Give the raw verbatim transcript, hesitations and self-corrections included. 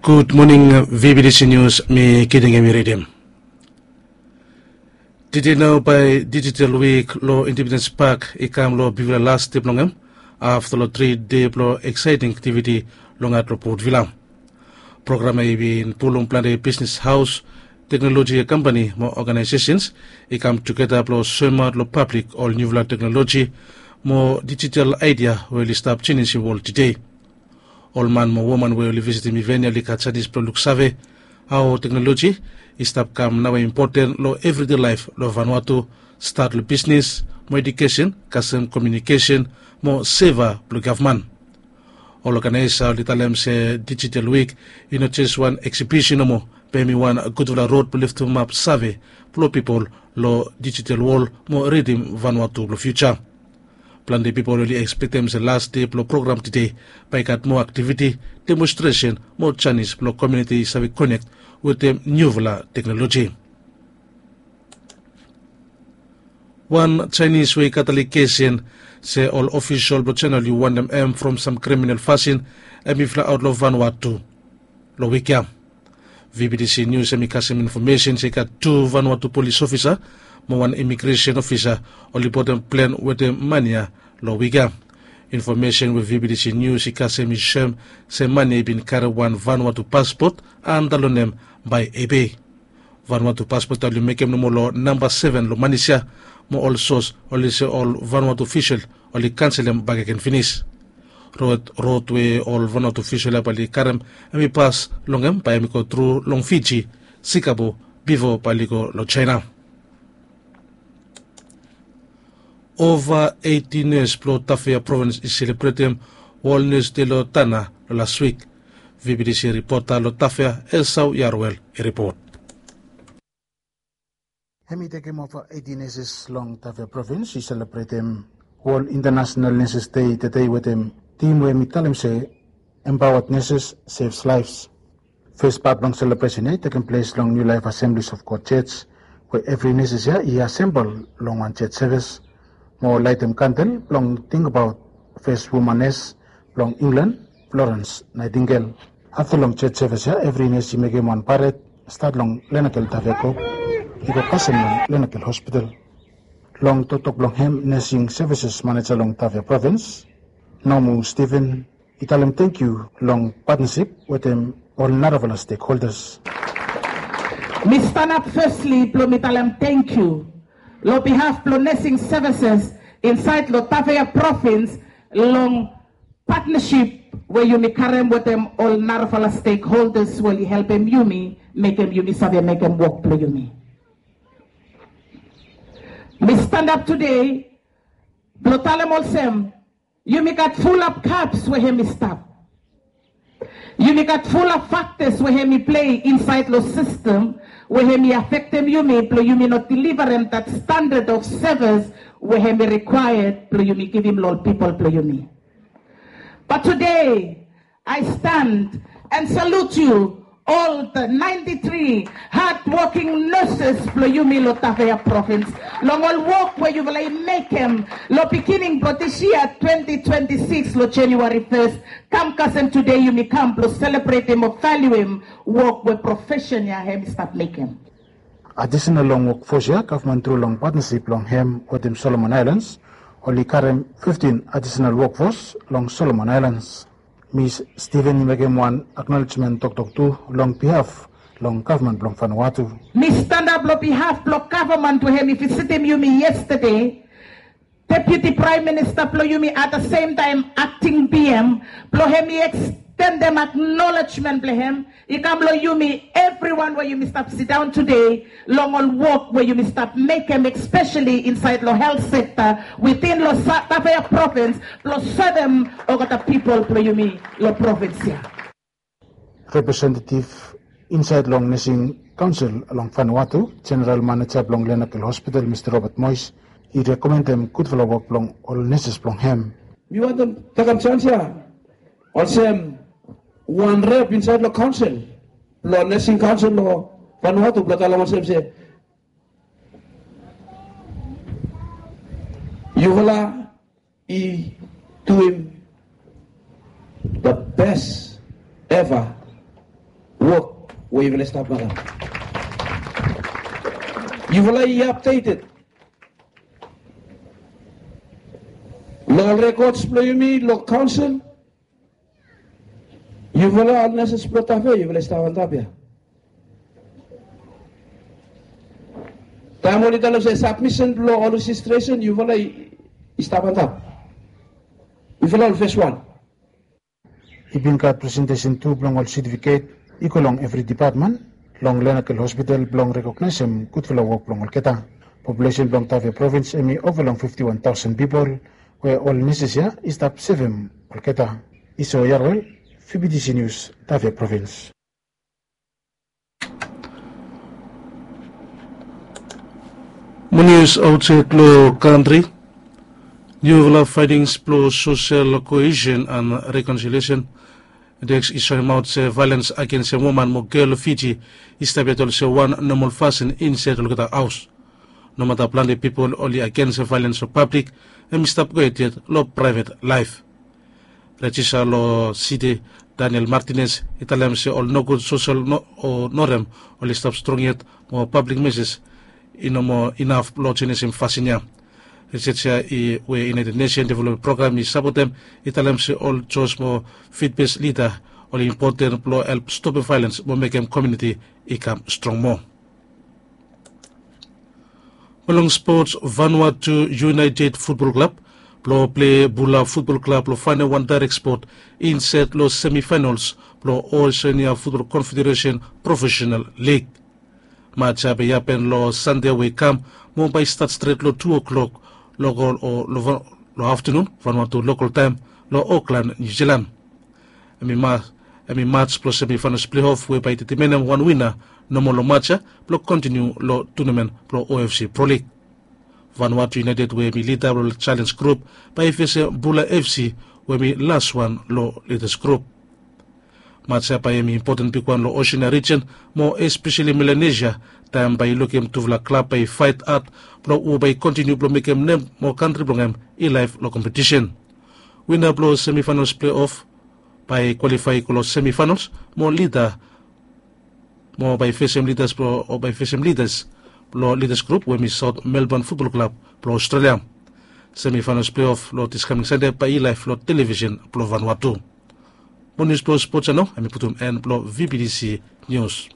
Gud moning, V B T C News, mi Kidingemi ridim. Tede nao bae Digital Week lo Independence Park i kam lo bigfala las de blong hem afta lo tri dei blo eksaeting aktiviti long at lo Port Vila. Program ya i bin pulum plante bisnes haos, teknoloji kampani mo oganaesesens i kam tugeta blo soemaot lo pablik ol niufala teknoloji mo digital aedia we oli stap jenisim wol tede. Ol man mo woman we oli visitim iven ya oli gat janis blo luksave hao teknoloji i stap kam naoia impoten lo evride laef lo Vanuatu, stat lo bisnes mo edukesen, kasem komiunikesen mo seva blo gavman. Ol oganaesa oli talem se Digital Week i no jes wan eksibisen nomo, be hem i wan gudfala rod blo leftemap save blo pipol lo digital wol mo ridim Vanuatu blo fiuja. Plante pipol oli ekspektem se las dei blo program tede bae i gat moa aktiviti, demonstresen mo janis blo komuniti i save konek wetem niufala teknoloji. Wan Jaenis we i gat alegesen se ol ofisol blo Jaena oli wantem hem from sam kriminal fasin hem i flaeaot lo Vanuatu lo wik ya. V B T C News hem i kasem infomesen se i gat tu Vanuatu polis ofisa mo wan imigresen ofisa oli botem plen wetem man ya lo wik ya. Infomesen we V B T C News i kasem i soem se man ya i bin karem wan Vanuatu paspot antap lo nem bae Ebei. Vanuatu paspot ya oli mekem nomo lo namba seven lo manis ya, mo ol sos oli se ol Vanuatu ofisol oli kanselem bakegen finis. Rod, rod we ol Vanuatu ofisol ya bae oli karem hem i pas long hem bae hem i go tru long Fiji, Singapore, bifo bae oli go lo Jaena. Ova eiti nes blo Tafea provins i selebretem Wol Nes Dei lo Tana lo las wik. V B T C ripota lo Tafea, Esau Yarwel i ripot. Hem i tekem ova eiti neses long Tafea provins i selebretem Wol Intanasenal Neses Dei tede wetem tim we hem i talem se Empowered Nurses Saves Lives. Fes pat blong selebresen ya i tekem ples long New Life Assemblies of God Church, we evri neses ya i asembol long wan church sevis mo laetem kandel blong tingbaot fes woman nes blong Inglan, Florence Nightingale. Afta long church sevis ya evri nes i mekem wan pared, stat long Lenakel Tafea Kop i go kasem long Lenakel Hospital. Long toktok blong hem, Nursing Services Maneja long Tafea provins, Nomu Stephen, i talem tangkiu long patnasip wetem ol narafala stekholdas. Mi stanap fesli blo mi talem tangkiu lo bihaf blo nursing services insaed lo Tafea provins long patnasip we yumi karem wetem ol narafala stekholdas we oli helpem yumi mekem yumi save mekem wok blo yumi. Mi stanap tede blo talem olsem, yumi gat fulap kaps we hem i stap. Yumi gat fulap faktas we hem i plei insaed lo sistem we hem i afektem yumi blo yumi no delivarem dat standad of sevis we hem i rikwaead blo yumi givim lo ol pipol blo yumi. Bat tede, I stand and salute you, all the ninety-three hardworking nurses blo yumi lo Tafea provins, long ol wok we yufala i mekem lo bigining blo dis yia twenty twenty-six lo January first, kam kasem tede yumi kam blo selebretem o valuem wok we profesen ya hem i stap mekem. Adisenal long wokfos ya, gavman tru long patnasip blong hem wetem Solomon Aelans, oli karem fiftin adisenal wokfos long Solomon Aelans. Mis Stephen i mekem wan aknolejmen toktok tu long bihaf blong gavman blong Vanuatu. Mi stanap long bihaf blong gavman we hem i visitim yumi yestade, Deputi Praem Minista blong yumi, at the same time akting B M, blong hem i ekstendem aknolejmen blong hem i kam long yumi evriwan we yumi stap sidaon tede long ol wok we yumi stap mekem, espeseli insaed long helt sekta witin long Tafea provins blong sevem olgeta pipol blong yumi long provins ya. Representetiv insaed long Nursing Council long Vanuatu, Jeneral Maneja blong Lenakel Hospital, Mista Robert Mois, i rekomendem gudfala wok blong ol neses blong hem. Mi wantem tekem janis ya olsem wan rep insaed long kaonsel blong Nursing Council long Vanuatu blong talem olsem se yufala i duim the best ever Wok we yufala i stap long hem. Yufala i apdeted long ol rekods blong yumi long kaonsel. Yufala ol neses blong Tafea, yufala i stap antap ya. Taem oli talem se sabmisen blong ol rejistresen, yufala i stap antap. Yufala ol fes wan. I bin gat presentesen tu blong ol setifiket i go long evri depatmen long Lenakel Hospital blong rekognaesem gudfala wok blong olgeta. Populesen blong Tafea provins hem i ova long fifti wan taosen pipol, we ol neses ya i stap sevem olgeta. Iso Yarwel, V B T C News, Tafea provins. Mo nius aotsaed long kantri. Niufala faetings blong sosel koesen an rekonsiliesen deks i soemaot se vaelens agensem woman mo gel long Fiji i stap yet olsem wan nomol fasin insaed olgeta haos. Nomata plante pipol oli agensem vaelens long pablik, hem i stap gohed yet long praevet laef. Rejista long siti Daniel Martinez i talem se ol nogud sosel o norem oli stap strong yet, mo pablik meses i no moa inaf blong jenesem fasin ya. Risej ya we United Nation Development Program i sapotem i talem se ol jos mo fitbes lida oli impoten blong help stopem vaelens mo mekem komuniti i kam strong moa. Mo long spots, Vanuatu United Futbol Klab blong plei Bula Futbol Klab blong faenem wan daerek spot insaed long semifaenols blong Oseania Futbol Konfederesen Profesenal Lig. Maj ya bae i hapen long Sande we i kam, mo bae i stat stret long tu o'klok long aftenun Vanuatu lokol taem long Oklan, Niu Jilan. Hem i maj blong semifaenos pleiof we bae i detemenem wan wina nomo long maj ya blong kontiniu long tunamen blong O F C Pro Lig. Vanuatu United we hem i lida blong Challenge Group bae i fesem Bula F C we hem i laswan long Leaders Group. Maj ya bae hem i impoten bigwan long Oseania rijen, mo espeseli Melanesia, taem bae i lukim tufala klab bae i faet had blong hu bae i kontiniu blong mekem nem mo kantri blong hem i laef long kompetisen. Wina blong semifaenos pleiof bae i kwalifae i go long semifaenos mo lida mo bae i fesem lidas blong o bae i fesem lidas blong Leaders Group we hem i Saot Melban Futbol Klab blong Ostrelia. Semifaenos pleiof long dis kaming Sande bae i laef long televisen blong Vanuatu. Mo nius blong spots ya nao hem i putum en blong V B T C Nius.